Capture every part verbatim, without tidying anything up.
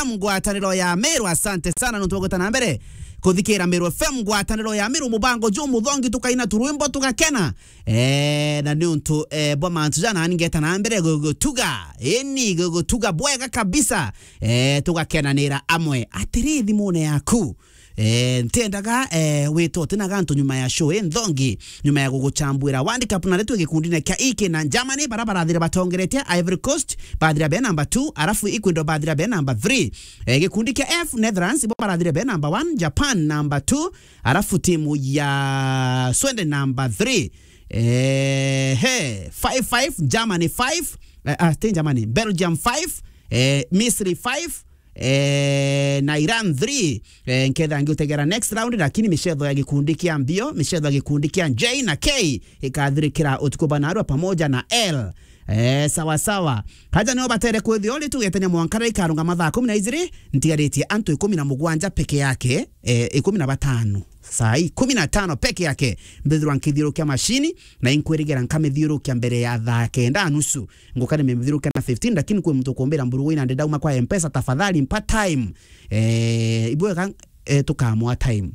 Ngwataniro ya Meru. Asante sana nontu bwa gwita na mbere kuthikira Meru F M, ngwataniro ya Meru, mubango jumuthongi, tukaina turwimbo tugakena. Eh, na ni untu, eh, bwa mantu jana ngeta na mbere gugutuga. Eni gugutuga bwega kabisa. Eh, tugakenanira amwe. Atiri thimune yaku. Eh, ntiendaga, eh, wite utinaga antu nyuma ya show, eh, nthongi, nyuma ya guguchambuira World Cup, na ritwe gikundine kia iki na Germany, bara barathire batongeretie, Ivory Coast, bathira be number two, arafu Ecuador bathira be number three. Eh, gikundi kia F, Netherlands, bo barathire be number one, Japan number two, arafu timu ya Sweden number three. Eh, he, five five, Germany five, eh, ah, ti Germany, Belgium five, eh, Misri five, eh, na Iran three. Eh, nketha ngiutegera next round, lakini micetho ya gikundi kia mbio, micetho ya gikundi kia J na K ikathirikira utuku banarua pamoja na L. Eh, sawa sawa. Haja nio batere kwithio ri tugetania mwanka ri ikarunga mathaa kumi na ijiri, ntigaritie antu ikumi na mugwanja peke yake, eh, ikumi na batano. Saa ikumi na tano peke yake, mbithirwa nkithiurukia mashini, na inkwirigera nkamithiurukia mbere ya thaa kenda nusu. Nguka nimithiurukia na fifteen, lakini kwi muntu ukumbira, "Mburugu ina ndi ndauma kwa M-Pesa, tafadhali mpa time." Eh, ibwega, eh, tukamwa time.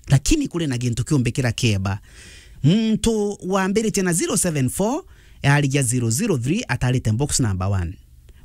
Lakini kuri na gintu kiumbikira kieba. Muntu wambiritie na zero seven four, arigia zero zero three, atarite box number one.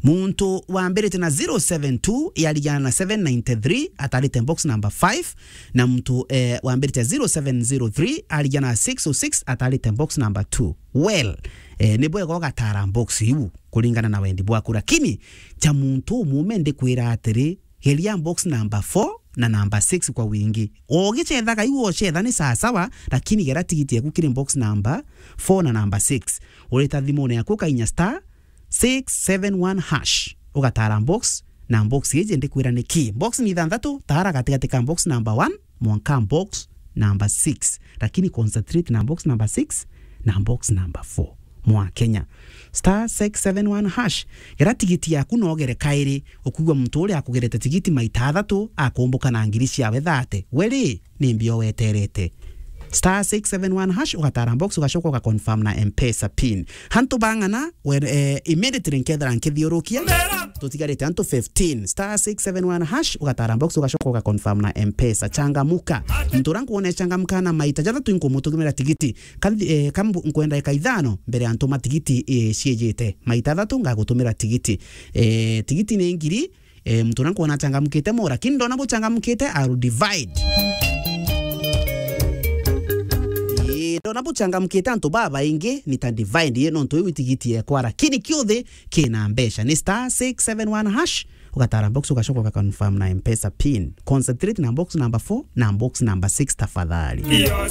Muntu wambiritie na zero seven two, arigia na seven ninety-three, atarite box number five. Na muntu, eh, wambiritie zero seven zero three, arigia na six oh six, atarite box number two. Well, eh, ni bwega ugatara box iu kuringana na wendi bwaku, lakini cha muntu umume ndikwira atiri, geria box number four na number six kwa wingi. Ugicethaga iu ucetha ni sawa sawa, lakini gera tigiti yaku kiri box number four na number six. Urita thimune yaku ukainya star six seven one hash, ugatara box, na box iji ndikwira ni ki. Box ni ithanthatu, tara gatigati ka box number one mwanka box number six, lakini concentrate na box number six na box number four. Mwa Kenya, star six seven one hash. Gera tigiti yaku na ugere kairi, ukwigua muntu uria akugerete tigiti maita athatu akumbuka na ngiri ciawe thate. We ri, ni mbio weterete? Star six seven one hash, ugatara box, ugacoka ugaconfirm na M-Pesa pin. Hantu bang'ana, we, eh, immediately nkethira nkithiurukia, tutigarite antu fifteen. Star six seven one hash, ugatara box, ugacoka ugaconfirm na M-Pesa. Changamuka. Muntu uria nkwona changamuka na maita jathatu inkumutumira tigiti. Ka nthi-, eh, ka mbu-, nkwenda eka ithano mbere ya ntuma tigiti, eh, ciijite. Maita athatu ngagutumira tigiti. Eh, tigiti ni ngiri, eh, muntu uria nkwona achangamukite mo, lakini ndona buchangamukite, I will divide. Eh, ndona buchangamukite antu babaingi, nita divide, ye nontu iu tigiti yekwa, lakini kiuthi kina mbeca. Ni star six seven one hash, ugatara box, ugacoka ugaconfirm na M-Pesa pin. Concentrate na box number four na box number six tafadhali.